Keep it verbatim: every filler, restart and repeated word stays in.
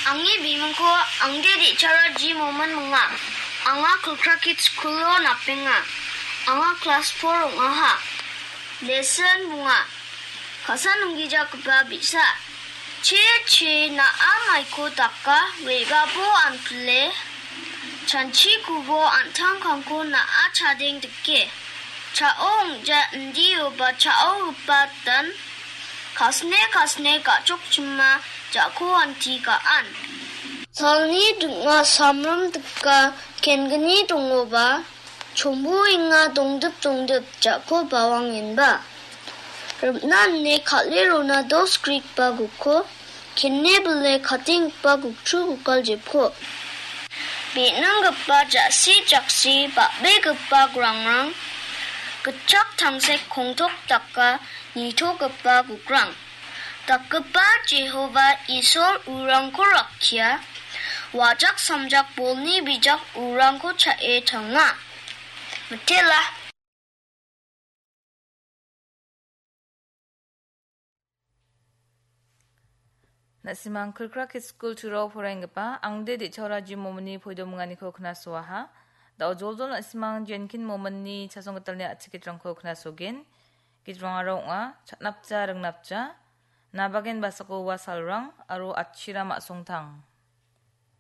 Angni bimingko Angde Dechara G. Momin minga. Anga Kulkrakit School-o napenga. Anga klas four ong·aha. Lesson bonga. Ka·sa nonggijagipa bi·sa. Che, che, na·a maiko daka, re·babo anpile, chanchikobo an·tangkangko na·a chadeng dike. Cha·o ong·ja indioba cha·ogipa dan, kasne kasne ga·chokchima ja·ko anti ga·an. Salni ding·a samrim dika kengni dongoba, chombuenga dongdip dongdip ja·ko bawangenba. Ripna ine kal·e rona dos grikba gukko, kenne bile katenggipa gukchu gukal jepko. Be·nanggipa ja·si jaksi bal·begipa grangrang, gitchak tangsek kongtok daka nitogipa gukrang. Dakgipa Jehova Isol urangko rakkia, wajak samjak bolni bijak urangko cha·e tanga. Mitela. Na·simang Kulkrakit School two-o poraienggipa Angde Dechara G. Mominni poidominganiko knasoaha. Da·o joljol na·simang Jenkin Mominni chasonggitalni a·chik gitrangko knasogen. Gitrangara ong·a, Chatnapja Ringnapja, Nabagen Basako Ua Salrang aro Atchiram A·songtang.